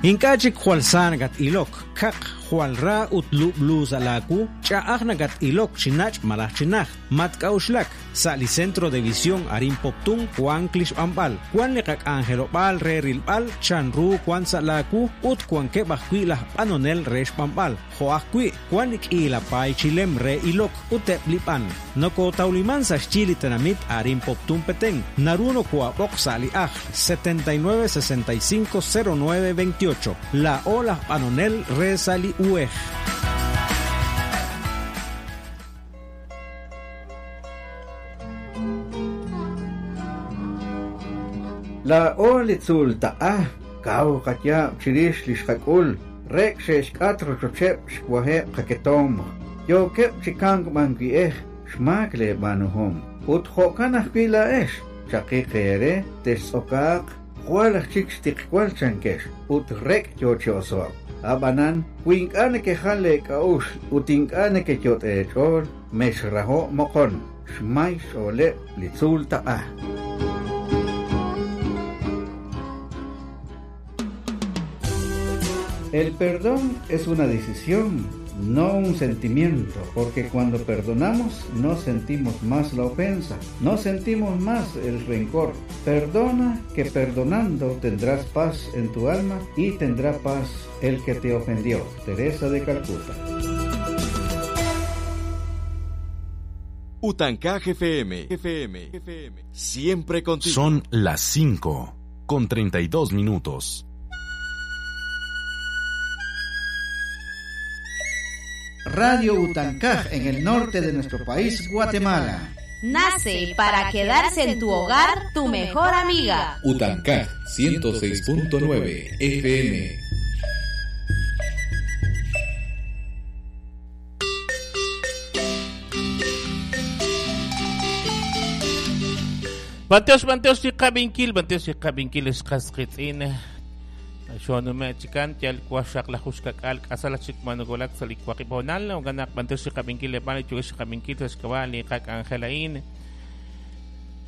Ink'a' chik jwal sa nakat-ilok, kaq, jwal ra ut lub'lu sa' laawu, ch'a'aj nakat-ilok chi nach' malaj chi najt. Matk'a'uxlak, sa' li Centro de Visión arin Poptún wank li xb'anb'al, wank li qak'anjelob'aal re rilb'al chan ru wank sa' laawu ut wankeb' ajwi' laj b'anonel re xb'anb'al, jo' ajwi' wank li k'iila paay chi lem re ilok ut eb' li b'an. Nokootawliman sa' xyi li tenamit arin Poptún Petén, naru nokoo'ab'oq sa' li ajl 79 65 09 28. Laa'o laj b'anonel re sa' li uhej. Laa'o li tzuultaq'a kaw qayaab' chirix li xqak'ul, rek' xe'xk'at rochocheb' xwaheb' qaketomq, yookeb' chi kamk b'an wi'ej xmaak leeb'aanuhom. Ut jo'kan ajwi' laa'ex, chaqiq eere, textz'okaaq, jwal aj chik xtiqwal chankex, ut rek' yo chi oso'k. Ab'anan, wi ink'a' nekejal leek'a'uxl ut ink'a' nekeyot' eech'ool, mexraho'k moqon, xmay xch'ooleb' li tzuultaq'a. El perdón es una decisión, no un sentimiento, porque cuando perdonamos no sentimos más la ofensa, no sentimos más el rencor. Perdona que perdonando tendrás paz en tu alma y tendrá paz el que te ofendió. Teresa de Calcuta. Utancaj FM, FM, FM, siempre contigo. Son las 5 con 32 minutos. Radio Utancaj en el norte de nuestro país, Guatemala. Nace para quedarse en tu hogar tu mejor amiga. Utancaj 106.9 FM. Bantiox, bantiox, chiqabinkil, bantiox, chiqabinkil, xqasqitz'in. Xonume chikan, yal kwashaq la jushkak'al, k'asala chik manugolak salikwaqibonal, oganak bantiox, chiqabinkil, lebal, chuex chiqabinkil, xkabal, liqak angelain.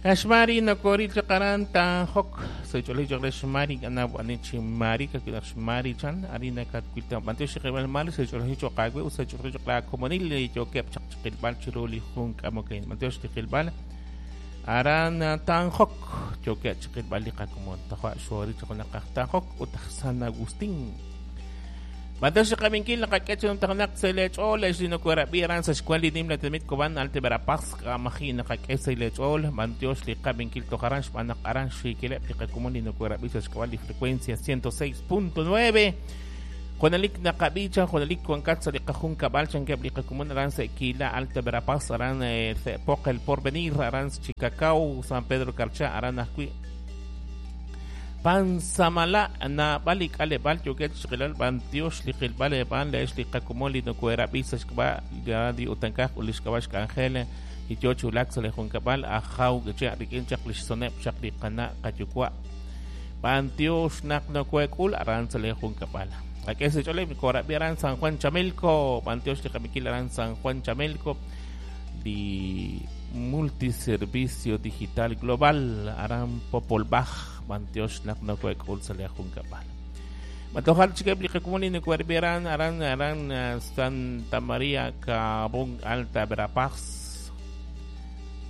Ashmari nokori chiqaran tanjok, soy chole chole shmari, gana chimari, kakilak shmari chan, arina katkuilta, bantiox, chiqibal mal, soy chole choqagwe, usay chole choqla comonil, yokep chaq chiqilbal, chiruli junk amokain, bantiox, chiqilbal. Aran Tanjok, yoke chiqil bali qakumon tajwa xori chiqunaqaj Tanjok utaj San Agustín. Bantax qaminkil naqak'ech taqnaq selech'ol exlinokuerabi aran sa xkuan li nim la temit koban Alta Verapaz qamaji naqak'e selech'ol bantiox li qaminkil tojaran xb'anaq aran xikileb li qakumon linokuerabi sa xkuan li frecuencia 106.9. Jonalik naqabicha, jonalik kuankat sa liqajun kabal chankeb liqakumun aran Sequila, Alta Verapaz, aran Poc el Porvenir, aran Chicacao, San Pedro Carchá, aran Ajui. Pansamala na balik alebal yoket xqilal bantiox liqilbal eban leex liqakumon linokuerabi sa xkba radio Utancaj ulixkabax kangel y yochulak sa lejunkabal ajaw gecha rikin chaq lixsoneb chaq liqana qayukwa. Bantiox naqnokuekul aran sa lejunkabal. Aquí se chole Aran San Juan Chamelco, Bantiox Liqamiquil Aran San Juan Chamelco, di Multiservicio Digital Global, Aran Popolbaj, Bantiox Naknokuek Ulsalea Juncapal. Matojal Chiqueb Liqakumuni Nukuerbiran, Aran Aran Santa María Cabón Alta Verapaz,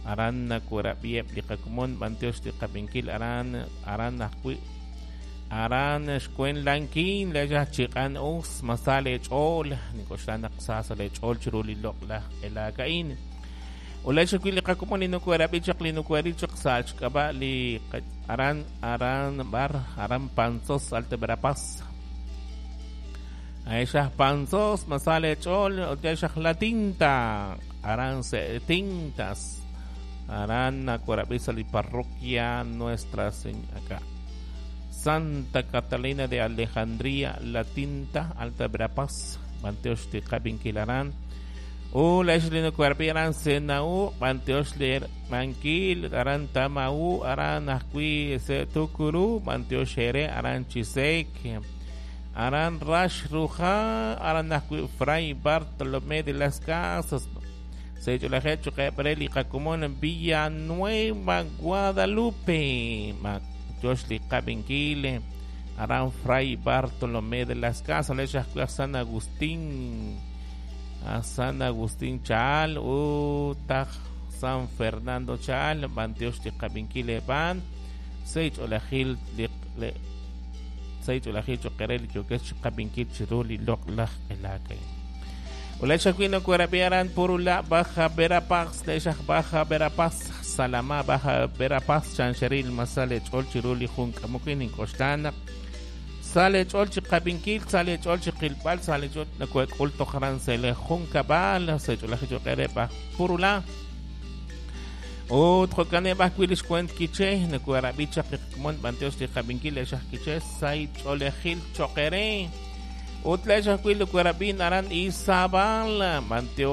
Aran Nakuerabieb Liqakumun, Bantiox Liqaminquil, Aran Aran Ajui. Aran xkuen lankin leya chiqan us masale ch'ol nikoxlan aqsasa le ch'ol chiruli loqla elakain ula xkuil liqakumon linukuerabi chaq linukueri chaq sachkaba li aran aran bar aran panzos Alta Verapaz aisha panzos masale ch'ol otexa la tinta aran se tintas aran nakuerabi sa li parroquia Nuestra Señora acá Santa Catalina de Alejandría, La Tinta, Alta Verapaz, Banteox Tiqabinquilarán, U la Ishlino Cuerpiran Senau, Banteox Ler Manquil, Aran Tamau, Aran Ajui Tukuru, Banteox Jere, Aran Chisek, Aran Rash Ruja, Aran Ajui Fray Bartolomé de las Casas, Seychulajecho Quebreli Jacumón, Villanueva, Guadalupe, Josh Liqabinkil, Aran Fray Bartolomé de las Casas lex ajwi' aj San Agustín aj San Agustín Chaal ut aj San Fernando Chaal b'antiox li qab'inkil eeb'aan sa' ch'oolejil li sa' ch'oolejil cho'q eere li yookex chiqab'inkil chiru li loq'laj elaak a'in. Ulex ajwi' nokoorab'i aran Purula Baja Verapaz lex aj Baja Verapaz Salamá Baja Verapaz chanxeril masal leech'ool chiru li jun k'amok nink'oxla naq sa leech'ool chiqab'inkil sa leech'ool chiqilb'al sa leech'ool nokoek'ul toj aran sa' li junkab'al sa' ch'oolejil cho'q eere aj Purula ut jo'kaneb' ajwi' li xwent Quiché nokoorab'i chaq li qakomon b'antiox li qab'inkil lex aj Quiché sa' ch'oolejil cho'q eere ut lex ajwi' nokoorab'in aran Izabal b'antiox.